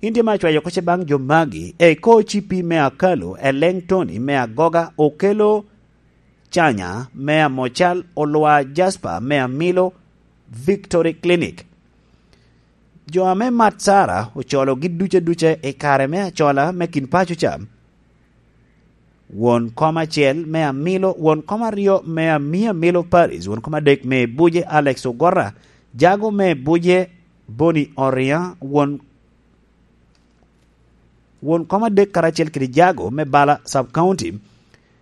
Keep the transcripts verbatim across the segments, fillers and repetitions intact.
In tye me acwayo oko ce baŋ jo magi, eko cipi me Akalo, Eleŋ Tony me Agoga, Okelo Canya me Amocal, Olwa Jasper me Amilo, Victory Clinic. Jo ame mat Sara ocologi duc aduca i kare me acola me kin paco ca. Won kom acel me Amilo, won kom aryo me Ami Amilo Paris, won kom adek me Buje Alex Ogora, jago me Buje Boni Oria, won, won kom adek karacel kede jago me Bala Sub County,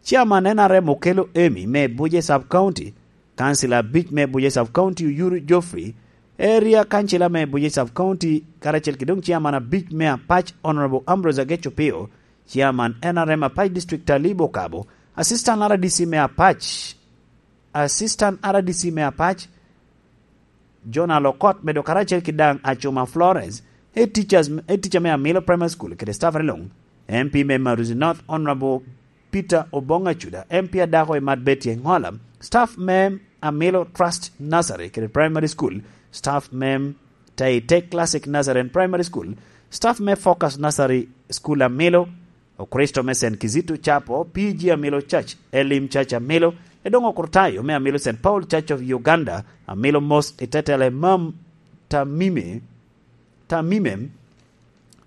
Chairman N R M Okelo Emi me Buje Sub County, Kancil abic me Buje Sub County Oyuru Geoffrey, Area Kancila me Buje Sub County, karacel kede doŋ Chairman abic me Apac Honorable Ambrose Ageco Pio, Chairman N R M Apac District Talib Okabo, Assistant R D C me Apac, Assistant R D C me Apac, Jonal Okot, medo karacel ki daŋ Acuma Florence, Head Teachers, Head Teacher me Amilo Primary School kede staff luŋ, M P me Maruzi North Honorable Peter Obong Acuda, M P adako i Mat Betty Engola, staff me Amilo Trust Nursery kede Primary School, staff me Taitek Classic Nursery and Primary School, staff me Focus Nursery School Amilo, Okristo me Saint Kizito Chapel, P G Amilo Church, Elim Church Amilo, edoŋ Okrutayo me Amilo Saint Paul Church of Uganda, Amilo Mosque i tetele Mam Tamime, Tamime,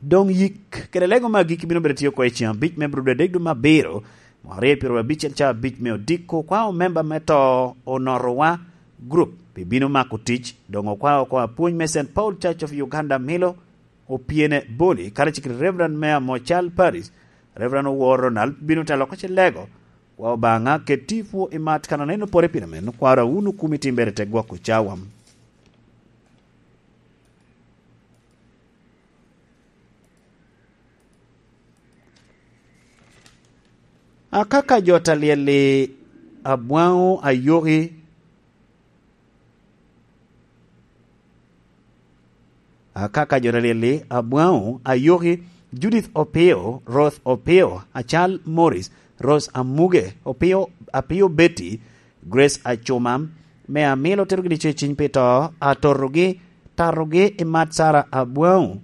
doŋ yik kede lego me agikki bino bedo tye oko i ceŋ abic me Abril adek dwe me abiro, mwaka aryo pyeraryo abicel ca abic me odiko, kwa omemba me to Onotowa Group pi bino mako tic, doŋ okwa oko apwony me Saint Paul Church of Uganda Amilo, Opyene Boni, karacel kede Reverend me Amocal Paris, Reverend Owor Ronald bino telo oko ce lego, kwa Obaŋa keti pwo i mat kan aneno pore pien amen, kwaro awunu kumi timbere te gwoko cawa. Akaka jo ta lyel-li abwaŋo ayoki, akaka jo ta lyel-li abwaŋo ayoki, Judith Opio, Ruth Opio, Acal Morris, Rose Amuge, Opio, Apio Betty, Grace Acuma, me amilo terogi dico i ciny pi to, atotogi, tatogi i mat Sara abwaŋo.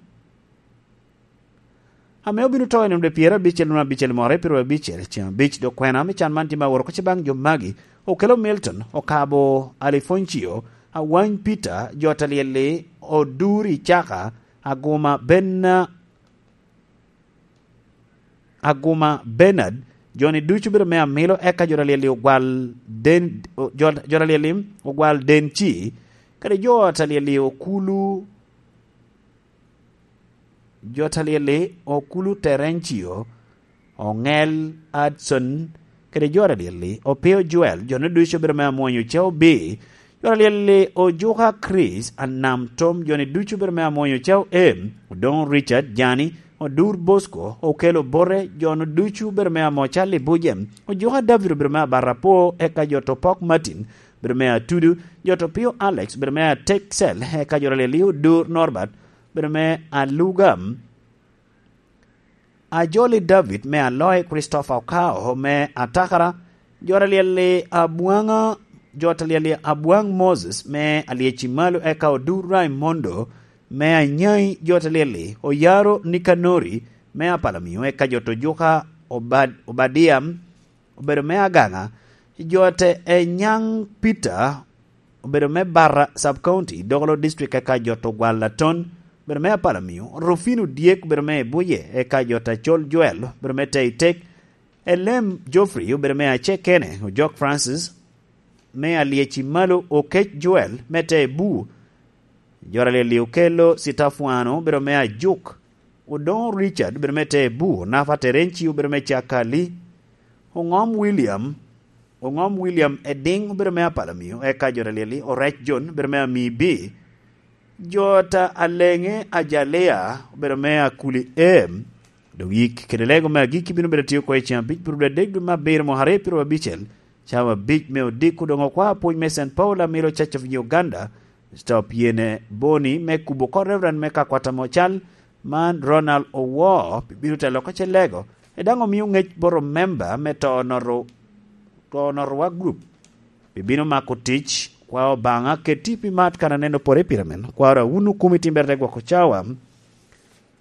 Ame obino to i nino dwe pyerabicel nino abicel mwaka aryo pyeraryo abicel, ceŋ abic dok kwena me can man tye me aworo oko ce baŋ jo magi, Okelo Milton, Okabo Alifoncio, Awany Peter, jo ta lyel-li, Oduri Caka, Aguma Bena-, Aguma Bernard, jo-ni ducu bedo me amilo, eka jo ta lyel-li Ogwal Den-, jo, jo ta lyel-li Ogwal Denci, kede jo ta lyel-li Okulu, jo ta lyel-li Okulu Terencio, Oŋel Adson, kede jo ta lyel-li Opio Joel, jo-ni ducu bedo me amwonyo Ocau Bi, jo ta lyel-li Ojuka Chris Anam Tom, jo-ni ducu bedo me amwonyo Ocau Em, Odoŋo Richard Jani, Odur Bosco, Okelo Bote, jo-nu ducu bedo me Amocal i Buje, Ojuka David obedo me Abarapwo, eka jo to Pok Martin, bedo me Atudu, jo to Pio Alex, bedo me Ateksel, eka jo ta lyel-li Odur Norbert, bedo me Aluga, Ajoli David me Aloy, Christopher Okao me Atakara, jo ta lyel-li Abwaŋa, jo ta lyel-li Abwaŋ Moses me Alyeci Malo, eka Odur Raimondo me Anyai, jo ta lyel-li Oyaro Nikanori me Apalamio, eka jo to Ojuka Obad-, Obadia, obedo me Agaŋa, jo te Enyaŋ Peter, obedo me Barra Sub County, Dogolo District, eka jo to Gwal Aton, obedo me Apalamio, Rufino Dyek, obedo me Ebuye, eka jo ta Col Joel, obedo me Teitek, Elem Geoffrey, obedo me Acekene, Ojok Francis, me Alyeci Malo, Okec Joel, me Tebu, jo ta lyel-li Okelo Sitafwano, obedo me Ajuk, Odoŋo Richard, obedo me Tebu, Nafa Terenci, obedo me Cakali, Oŋom William, Oŋom William Ediŋ, obedo me Apalamio, eka jo ta lyel-li Orec John, obedo me Amibi, jo ta Aleŋe Ajalea, obedo me Akuli Em, doŋ yik kede lego me agikki bino bedo tye oko i ceŋ abic pyeraryo adek dwe me abiro mwaka aryo pyeraryo abicel, cawa abic me odiko, doŋ okwa apwony me Saint Paul Amilo Church of Uganda, Mister Opyene Boni me kubo oko Reverend me Kakwata Mocal, man Ronald Owo, pi bino telo oko ce lego, e daŋ omio ŋec bot omemba me to Onoto, to Onotowa Group, pi bino mako tic, kwa Obaŋa keti pi mat kan aneno pore pire men, kwaro awunu kumi timbere te gwoko cawa,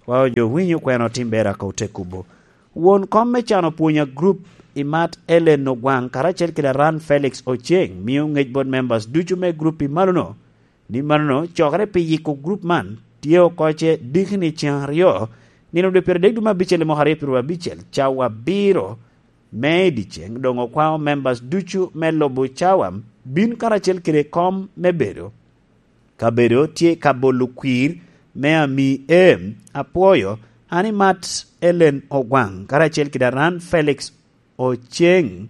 Kwao jo winyo kwena otim ber aka ote kubo. Won kom me can opwonya grup i mat Ellen Ogwaŋ karacel kede Aran Felix Oceng mio ŋec bot members ducu me grup i malono, ni malono cokere pi yiko grup man tye oko ce dikni ceŋ aryo, nino dwe pyeradek dwe me abicel i mwaka aryo pyearyo abicel, cawa abiro me i dyeceŋ, doŋ okwao members ducu me lubo cawa bin karacel kede kom me bedo. Kabedo tye ka bolo kwir me ami em. Apwoyo, an i mat Ellen Ogwaŋ, karacel kede Aran Felix Oceng,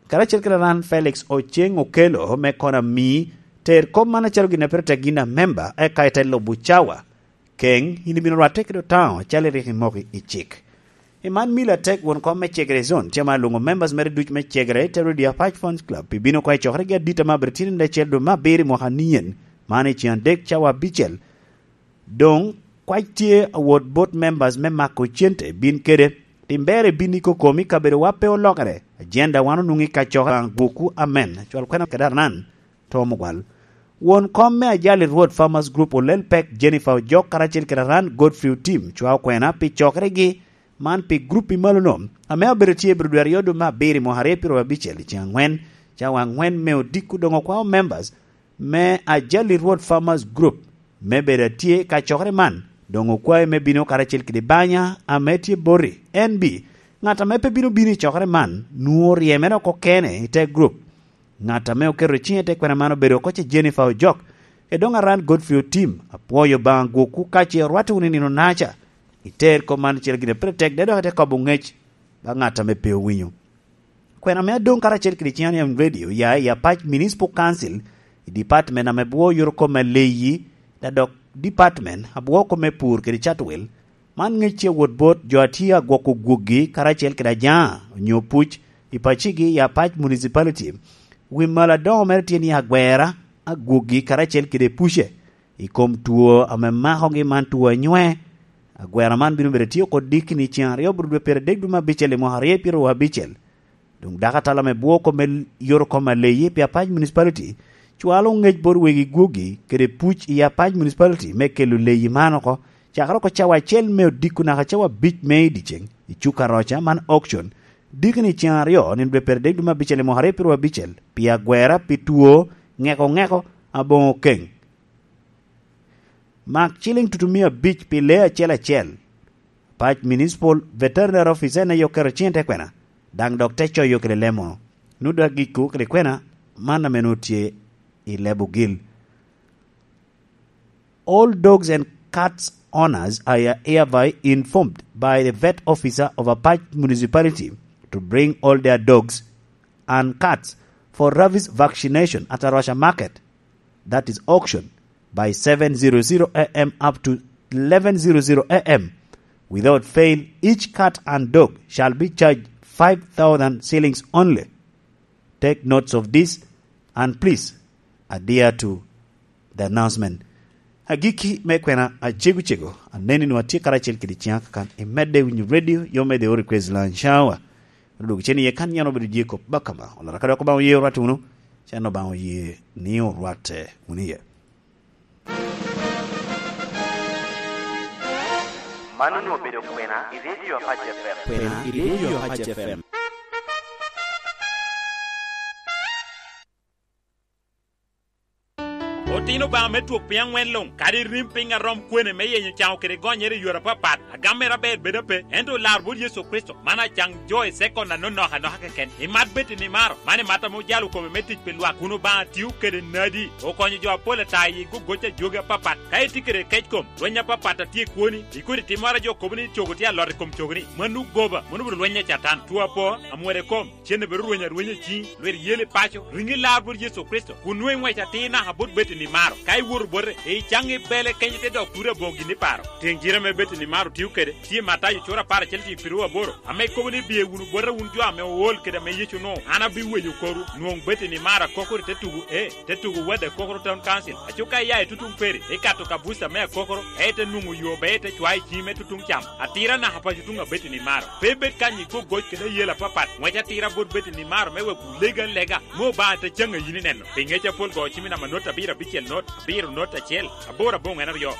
karacel kede Aran Felix Oceng Okelo me kono ami ter kop man acalo gin a pire tek gin a memba, eka ite lubo cawa. Keŋ, in ibino rwatte kede otaŋo, acalo rik imoko i cik. I man milo atek won kom me Cegere Zone, tye ma alwoŋo members mere duc me Cegere, te redio Apac Fans Club, pi bino oko i cokere gi adit ame abedo tyen i acel dwe me abiro i mwaka nien, man i cen adek cawa abicel. Doŋ, kwac tye awot bot members me mako cente, bin kede, tim ber i bin i kokomi kabedo wa pe olokere, agenda wan onwoŋo i kacokere gwokwu amen, cwal kwena kede Arnan. Tom Ogwal. Won kom me ajali Rwot Farmers Group olel pek Jennifer Ojok karacel kede Aran Godfrey Otim cwao kwena pi cokeregi man pi grup i malono, ame abedo tye i biro dwe aryo dwe me abiro i mwaka aryo pyearyo abicel i ceng angwen, cawa angwen me odiko doŋ okwao members me ajali Rwot Farmers Group me bedo atye ka cokere man, doŋ okwae me bino karacel kede banya ame tye boti. N B, ŋat ame pe bino bino i cokere man, nwoŋo ryemere oko kene i te grup. Ŋat ame oketo ciŋe i te kwena man obedo oko ce Jennifer Ojok, kede doŋ Aran Godfrey Otim, apwoyo Obaŋa gwokwu ka ce orwatte wunu i nino naca, iter kop man cel gire pire tek, de dok ite kobo ŋec ba ŋat ame pe owinyo. Kwena me adoŋ karacel kede Cian Yam Radio ya i Apac Municipal Council, i department ame bwo yoro kop me leyi, da dok department abwo kop me pur kede catwil, man ŋec tye wot bot jo a tye agwoko gwokgi karacel kede ajaŋa onyo puc i pacigi i Apac Municipality. Wi malo adoŋo mere tye ni agwera agwokgi karacel kede puce i kom two ame makogi man two anywe. Agwera man bino bedo tye oko dikni ceŋ aryo bro dwe pyeradek dwe me abicel i mwaka aryo pyearyo abicel. Doŋ dako atala me bwo kop me yoro kop me leyi pi Apac Municipality cwalo ŋec bot wegi gwogi kede puc i Apac Municipality me kelo leyi man oko, cakere oko cawa acel me odiko naka cawa abic me i dyeceŋ i cuk Aroca man auction, dikni ceŋ aryo nino dwe pyeradek dwe me abicel i mwaka aryo pyearyo abicel pi agwera pi two ŋeko ŋeko aboŋo keŋ. Mak ciliŋ tutumia abic pi lee acel acel. Pac Municipal Veterinary Officer en aye oketo ciŋ i te kwena, daŋ dok te coyo kede lemo. Nut agikku kede kwena, man ame nut tye i leb ogil. All dogs and cats owners are hereby informed by the vet officer of Apac Municipality to bring all their dogs and cats for rabies vaccination at Arusha Market, that is auction, by seven zero zero A M up to eleven zero zero A M. Without fail, each cat and dog shall be charged five thousand shillings only. Take notes of this and please adhere to the announcement. Agikki me kwena acego cego, aneni nwa tye karacel kede ciŋa kakan imedde winyo radio, yo medde o request lunch hour. Odwogo cen iye kan yan obedo Jacob Bakama. Olara ka dok Obaŋa oye orwatte wunu, can Obaŋa oye ni orwatte wunu iye. Mano onwoŋo obedo kwena i Radio Apac F M. Kwena i Radio Apac F M. Otino Obaŋa me twok piny aŋwen luŋ, kadi rim piny a rom kwene me yenyo caŋo kede gonyere i yore apapat, agam mere aber bedo ape, ento lar bot Yecu Kricito, man acaŋ jo i sekon anonok anoka keken. Imat bed i nimaro, man imat ame ojalo kome me tic pi lwak, kun Obaŋa tio kede nadi, okonyo jo apol ata i gogoc a jogi apapat. Ka itye kede kec kom, lweny apapat a tye i kwoni, i kodi timmoro a jo kobo ni cogo tye alot i kom cogoni, mano goba, mano obedo lweny a Catan, two apo, amwero i kom, cen obedo rweny arwenya i ciŋi, lwit yel i paco, riŋi lar bot Yecu Kricito, kun nwoŋo iŋwec atir naka bot bed i nimaro. Ka iwoto bote, icaŋ i bele kenyo te dok turo aboŋo gin i paro. Tiŋ cite ame bed i nimaro tio kede, tye i Matayo cura apar acel cik piru aboro, ame kobo ni, "Biye wunu bota wun jo ame ool kede ame Yecu onwoŋo, an abiweyo korwu." Nwoŋo bed i nimaro akokoro i te tugo, ee, te tugo Wad Akokoro Town Council. Aco ka iya i tutuŋ peri, ikato ka buca me akokoro, ka ite nwoŋo yo, be ite cwayo i ciŋi me tutuŋ cam. Atira naka paco tuŋ abed i nimaro. Pe bed kany i gogoc kede ayel apapat. Ŋwec atira bot bed i nimaro me wek wulega alega, me Obaŋa te caŋ a yin ineno. Pi ŋec apol go cimi namba not abiro abiro. acel not, abiro not acel, aboro aboŋwen aryo. Ka